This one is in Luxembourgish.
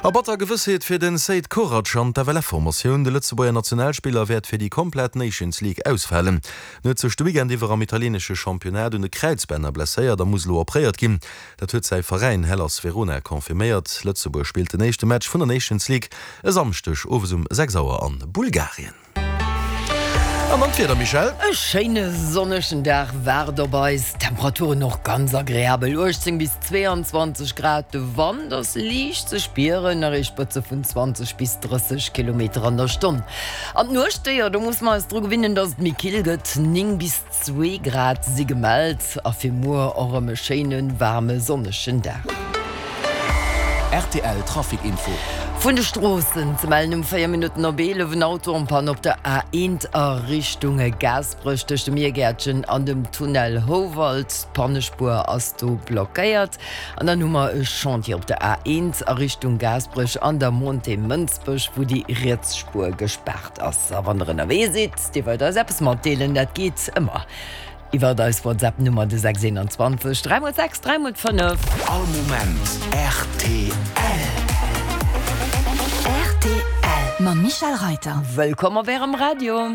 A batter Gewëssheet fir den Seid Korac an d'FLF-Formatioun. De Lëtzebuerger Nationalspiller wäert fir déi komplett Nations League ausfalen. En huet sech de Weekend iwwer am italieenesche Championnat un de Kräizbänner blesséiert a muss elo opréiert ginn. Dat huet säi Veräin Hellas Verona confirméiert. Lëtzebuerg spillt den éischte Match vun der Nations League e Samschdeg owes um 6 Auer a Bulgarien. An dann d'Wieder, Michèle? E schéine sonnegen Dag waart op eis, Temperaturen och ganz agreabel, 18 bis 22 Grad. De Wand ass liicht ze spieren, erreecht Spëtze vun 20 bis 30 Kilometer an der Stonn. An d'Nuecht, jo, do musse mer eis dru gewinnen, dass et méi kill gëtt, 9 bis 2 Grad si gemellt a fir muer och erëm e schéine waarme sonnegen Dag. Rtl Trafic Info. Vun de Stroossen ze mellen um 4 Minutten op 11 en Auto en Panne op der A1 a Richtung Gaasperech tëscht dem Miergäertchen an dem Tunnel Houwald. D'Pannespuer ass do blockéiert. An dann hu mer e Chantier op der A1 a Richtung Gaasperech an der Montée Mënsbech, wou déi riets Spuer gespaart ass. A wann der ënnerwee sidd, dir wëllt eis eppes matdeelen, dat geet ëmmer. Iwwert eis WhatsApp Nummer de 621 3 x 6 3 x 5. All Moment rtl. Rtl mam Michèle Reiter. Wëllkomm op Ärem Radio.